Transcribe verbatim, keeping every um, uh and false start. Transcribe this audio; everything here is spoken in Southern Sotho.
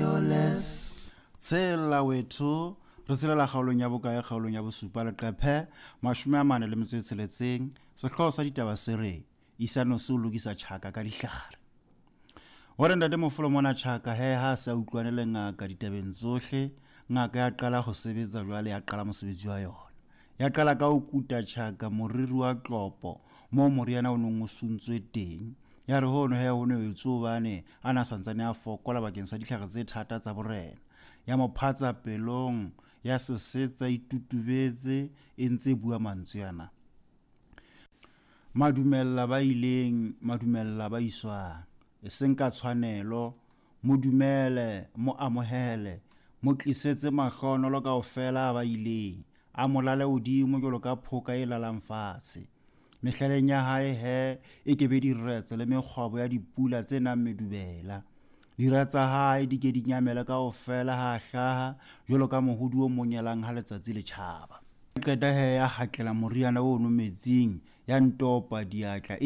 Fearless. Tshela wethu, re tshelela kgaolong ya bokae? Kgaolong ya bosupa, leqephe mashome a mane le metso e tsheletseng. Sehlooho sa ditaba se re Isano se o lokisa tjhaka ka dihlare. Hore ntate Mofolo mona tjhaka he ha a se a utlwane le ngaka ditabeng tsohle, ngaka ya qala ho sebetsa jwale, ya qala mosebetsi wa yona. Ya qala ka ho kuta tjhaka moriri wa tlopo moo moriana o neng o suntswe teng. Ya re hono he ho no etswe hobane a na santsane a fokola bakeng sa ditlhare tse thata tsa borena. Ya mo phatsa pelong, ya sesetsa itutubetse e ntse e bua mantswe ana. Madumella ba ileng, madumella ba iswang, e seng ka tshwanelo, mo dumele, mo amohele, mo tlisetse mahlohonolo kaofela a ba ileng, a mo lale hodimo jwalo ka phoka e lalang fatshe. Mehlaleng ya hae he e ke be diretse le mekgwabo ya dipula tse nang medubela. Dira tsa hae di ke di nyamele kaofela ha a hlaha jwalo ka mohodi o monyelang ha letsatsi le tjhaba. Qeta he ya hatlela moriana ono metsing, ya ntopa diatla e di